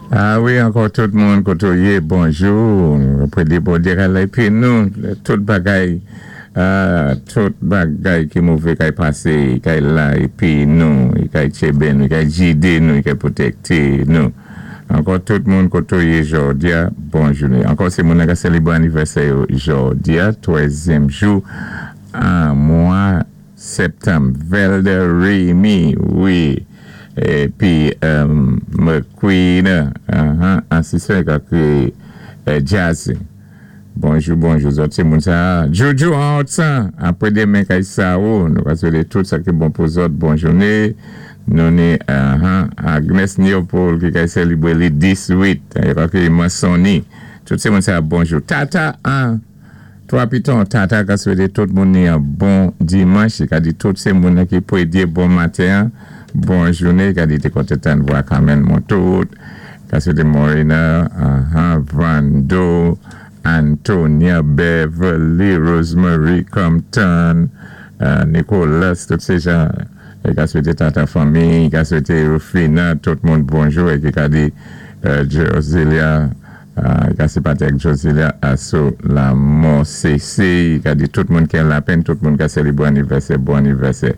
A wi, ankò tout moun koto yé, bonjou. Pwédyé Bondyé kay la épi nou, tout bagay ki mové kay pasé, kay la épi nou, kay tchébé nou, kay jidé nou, kay pwotèkté nou. Ankò tout moun koto yé jòdya, bon jouné. Ankò sé moun-nan ka sélébwé anivèsè yo jòdya, twèzyèm jou an mwa sèptanm. Velder Remy, wi, épi McQueen, asisten ka kréyé Jazzy. Bonjou, bonjou, zòt sé moun sa. Jojo an Otsan, apwé démen kay Sao, nou ka swété tout sa ki bon pou zòt, bon jouné. Nou ni Agnes Neopol ki kay sélibwé li 18, yo ka kréyé Mansoni. Tout sé moun sa, bonjou. Tata an 3 piton, Tata ka swété tout moun ni an bon dimanch, i ka di tout sé moun ki pwédyé bon maten an, bon jouné, i ka di té kontan tann vwa Carmen Montout, ka swété Morena, Vando, Antonia, Beverly, Rosemary, Compton, Nicolas, tout sé jan, i ka swété Tata fanmi, i ka swété Rufina, tout moun bonjou, é ki ka di Josilia, i ka sipati ak Josilia asou lamò CC, i ka di tout moun ki an lapenn, tout moun ka sélibwé anivèsè, bon anivèsè.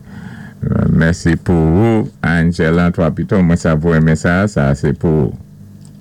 Mèsi pou ou, Angela 3 Piton, mwen sav ou renmen sa, sa sé pou ou.